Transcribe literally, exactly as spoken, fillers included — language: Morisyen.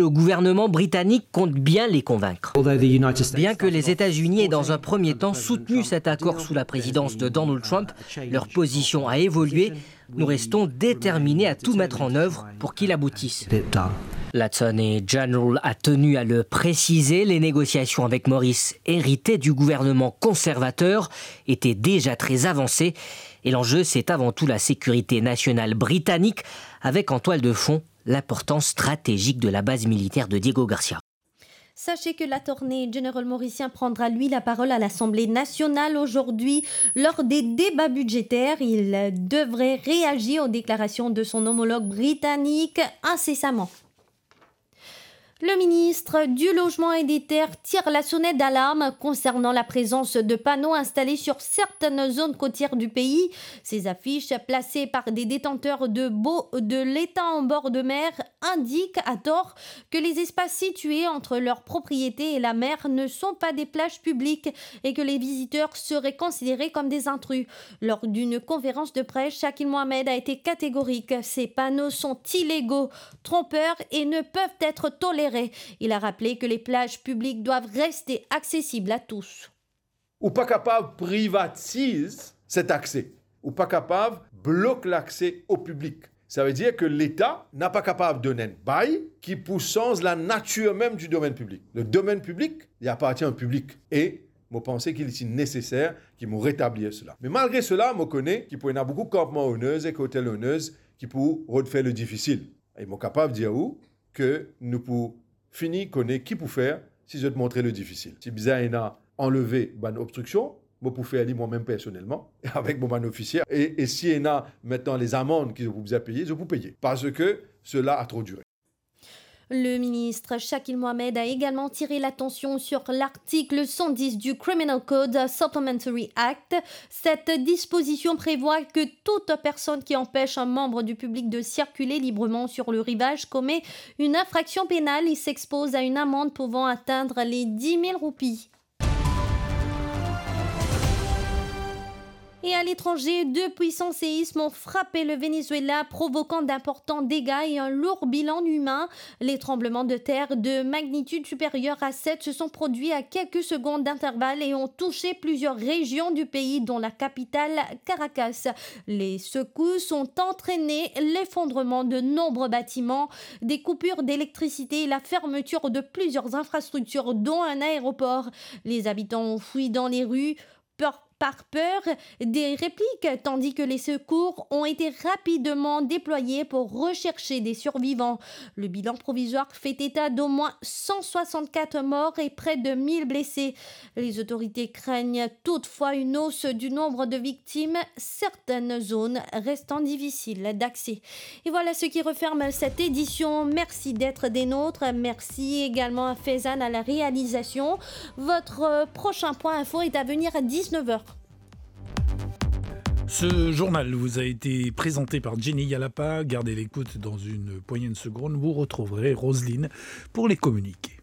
Le gouvernement britannique compte bien les convaincre. Bien que les États-Unis aient dans un premier temps soutenu cet accord sous la présidence de Donald Trump, leur position a évolué. Nous restons déterminés à tout mettre en œuvre pour qu'il aboutisse. L'Attorney General a tenu à le préciser, les négociations avec Morris, hérité du gouvernement conservateur, étaient déjà très avancées. Et l'enjeu, c'est avant tout la sécurité nationale britannique, avec en toile de fond l'importance stratégique de la base militaire de Diego Garcia. Sachez que l'Attorney General mauricien prendra, lui, la parole à l'Assemblée nationale aujourd'hui lors des débats budgétaires. Il devrait réagir aux déclarations de son homologue britannique incessamment. Le ministre du Logement et des Terres tire la sonnette d'alarme concernant la présence de panneaux installés sur certaines zones côtières du pays. Ces affiches, placées par des détenteurs de baux de l'État en bord de mer, indiquent à tort que les espaces situés entre leur propriété et la mer ne sont pas des plages publiques et que les visiteurs seraient considérés comme des intrus. Lors d'une conférence de presse, Shakil Mohamed a été catégorique. Ces panneaux sont illégaux, trompeurs et ne peuvent être tolérés. Il a rappelé que les plages publiques doivent rester accessibles à tous. Ou pa kapav privatiz set akse. Ou pa kapav blok lakse o piblik. Savedir ke Leta napa kapav donn enn bay ki pou sanz lanatir mem di domenn piblik. Le domenn piblik, li apartien o piblik. E mo panse ki li ti neseser ki mo retablir sela. Me malgre sela, mo kone ki pou ena boukou kanpman owners ek hotel owners ki pou rod fer le difisil. E mo kapav dir ou ke nou pou fini kone ki pou fer si zot montre le difisil. Si bizin ena anleve bann obstriksion, mo pou fer li mwa mem personelman, avek mo bann ofisie. E, e si ena aster lezamand ki zot pou bizin peye, zot pou peye. Parski sela a tro dire. Le ministre Shakil Mohamed a également tiré l'attention sur l'article cent dix du Criminal Code Supplementary Act. Cette disposition prévoit que toute personne qui empêche un membre du public de circuler librement sur le rivage commet une infraction pénale et s'expose à une amende pouvant atteindre les dix mille roupies. Et à l'étranger, deux puissants séismes ont frappé le Venezuela, provoquant d'importants dégâts et un lourd bilan humain. Les tremblements de terre de magnitude supérieure à sept se sont produits à quelques secondes d'intervalle et ont touché plusieurs régions du pays, dont la capitale Caracas. Les secousses ont entraîné l'effondrement de nombreux bâtiments, des coupures d'électricité et la fermeture de plusieurs infrastructures, dont un aéroport. Les habitants ont fui dans les rues par, par peur des répliques, tandis que les secours ont été rapidement déployés pour rechercher des survivants. Le bilan provisoire fait état d'au moins cent soixante-quatre morts et près de mille blessés. Les autorités craignent toutefois une hausse du nombre de victimes, certaines zones restant difficiles d'accès. Et voilà ce qui referme cette édition. Merci d'être des nôtres. Merci également à Faizan à la réalisation. Votre, euh, prochain point info est à venir à dix-neuf heures. Ce journal vous a été présenté par Jenny Yalapa. Gardez l'écoute, dans une poignée de secondes, vous retrouverez Roselyne pour les communiqués.